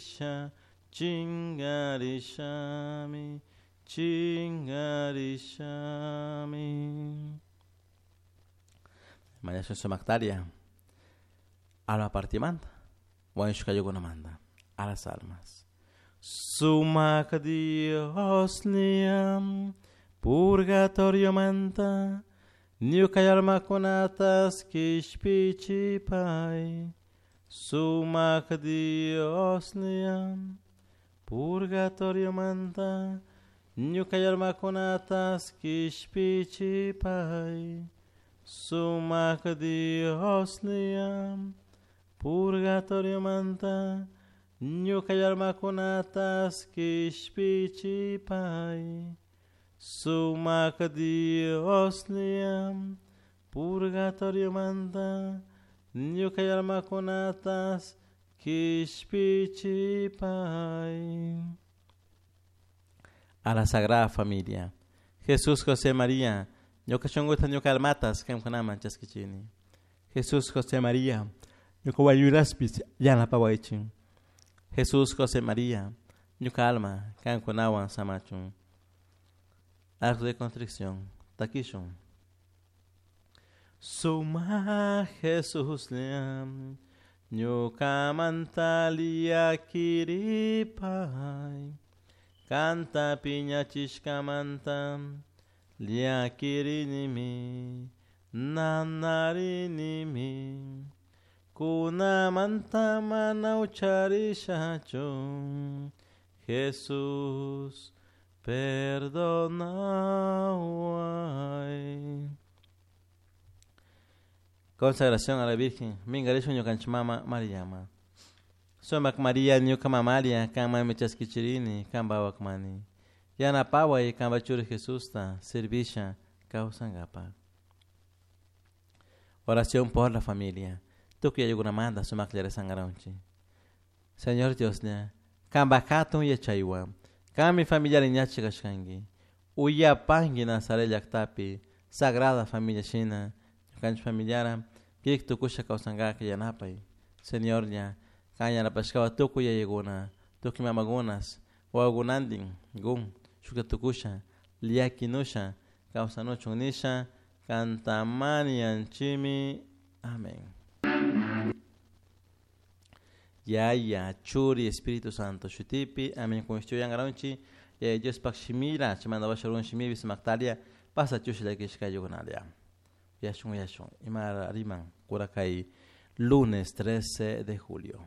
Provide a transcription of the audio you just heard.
Chingarisha, chingarishami, chingarishami. Mañashun sumaktaria alma partimanta, wañushkayukunamanta, a las almas. Sumak Dios liam, purgatorio manta, ñuka almakunatas kishpichipay. Sumak Dios liam, purgatorio manta, ñuka almakunatas kishpichipay. Sumak Dios liam, purgatorio manta, ñuka almakunatas kishpichipay. Sumak Dios liam, purgatorio manta, ñuka almakunatas kishpichipay. A la Sagrada Familia. Jesús, José, María, ñuka shunkuta ñuka almatas kankunaman chaskichini. Jesús, José, María, ñuka wañuraspis yanapawaychin. Jesús, José, María, ñuka alma kankunawan samachun. Acto de constricción. Takishun. Suma Jesús liam, ñuka mantalia kiripay. Kanta piñachishkamanta, llakirinimi, nanarinimi. Kunamanta mana ucharishachu, Jesús, perdonaway. Consagración a la Virgen, mingarishun ñukanchik mama Mariama. Sumak María ñuka mamaria, kanmanmi chaskichirini, kanpa wakmani. Yanapaway kanpa churi Jesusta, servisha kawsankapak. Oración por la familia. Tukuy ayukunamanta sumaklla rezankaranchik. Señor Dioslla, kanpa hatun yachaywan, kanmi familiar ñachi kashkanki. Uyapanki Nazaret llaktapi, Sagrada Familia shina, ñukanchik familiara, kik tukusha kawsankaka yanapay. Señorlla, kan yanapashkawan tukuy yayakuna, tukuy mamakunas, wawakunantin, gun, shukta tukusha, llakinusha, kawsanuchun nisha, kantamani yanchimi. Amén. Yaya, Churi, Espíritu Santo, Shutipi, amén. Con esto yangaronchi, Yaya Dios pak shimira, chimanda basharun shimibi sumaktaria, pasa chushila kishkayukunalia. Yashun, yashun, imara riman, kurakay, lunes 13 de julio.